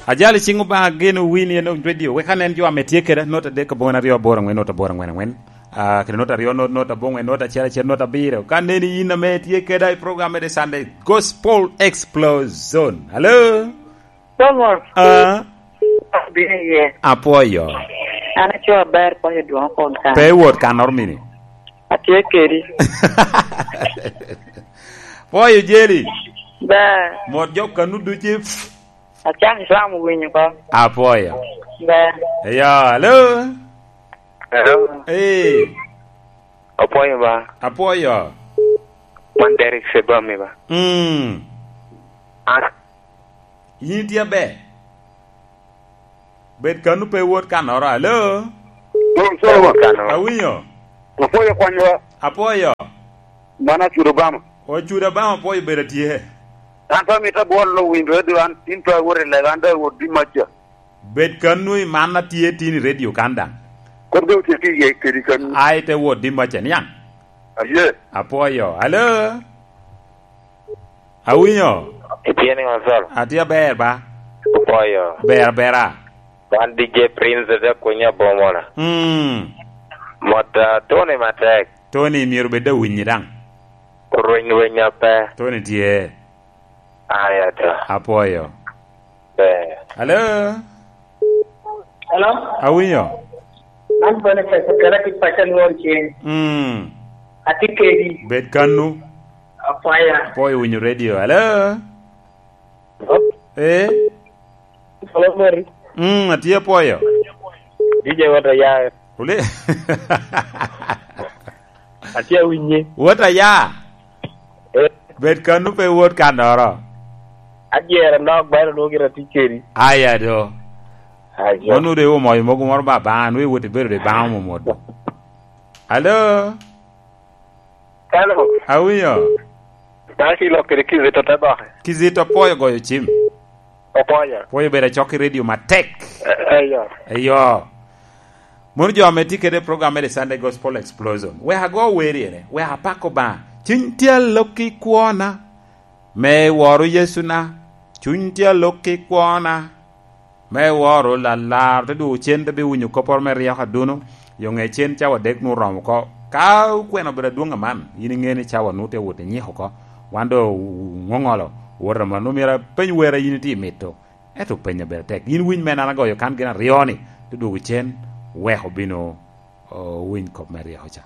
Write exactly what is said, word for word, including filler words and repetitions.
Ajali cingo ba geno wini en radio we kanen jo ame tie keda nota dek abongwen aryo aboro angwen nota aboro angwen angwen. Ah, kede nota aryo not nota abongwen nota achiel achiel nota abiro. Kaneni in ame tie keda i program me The Sunday Gospel Explosion. Hello. Solomon, Ah, bino iye. apoyo. An aco ber konyo dwong kon kan. Pe wot kanor mini. Atye kedi. Poyo jeli. Ber. Mot jok kanu duci. Acak Islam winyo ko. Apoyo. Ber. Ya, hello. Hello. Eh, Apoyo ba. apoyo. Man Derek Sebami ba. Mm. An Yin tie be. Bet kanu pe wot kanoro. Hello. Solomon. Kano. Awinyo. Apoyo kwanyo Apoyo. mana chudo bama. Ochuda bama apoyo bedo tie. An pa mita bol lo winjo radio an tin to awore le an da wod di macha. Bet kanu i mana tie tini radio kanda. Kod go tie ki ye kedi kan. Ai te wot di macha niang. Aye. Apoyo. Hello. Awinyo. Itieni Gonzalo. Atia ber ba. Apoyo. Ber bera. Man D J Prince de kunya bomona. Mm. Mota Tony matek. Tony miero bed da winyi dang. Runy runy pe. Tony tie. Aya ta. Apoyo. Be. Hello. Hello? Awinyo. An Boniface okela ki pacha luor chien. Mm. Atye kedi. Bet kanu. Apoya. Apoyo winyo radio. Hello. Eh. Solomon. Mm, atie apoyo. D J wata ya. Ule. Atie winyi. Wota ya. Eh. Bet kanu pe wot kanoro. Ajiere nok bayro nugira tikeri. Aya do. Ayo. Monu de wo moyo mogo moro ba ban we wote bedo de ban mo modo. Hello. Hello. Awinyo. Taki lo kere kizito tabahe. Kizito apoyo goyo chim. Apoyo. Apoyo bedo choki radio matek. Ayo. Eyo. Mon jo ame ti kede program me Sunday Gospel Explosion. We ago weri ene. We apako ba. Chuny tia loki kuona. Me woru Yesu na. Chuny tia loki kuona. Me woru la lar. Te du chen te bi winyo kopor me rieko aduno. Yo ng'e chen chawa dek nu romo ko. Ka kweno beda duong' aman. In ing'e ni chawa nu te wuoth nyiho ko. Wando ng'ong'olo. Wuoro ma numiera peny wera in ti mito. Eto penya beda tek. In winy mena nagoyo kan gina rioni. Te duogo chen weko bino uh, winy kop me rieko cha.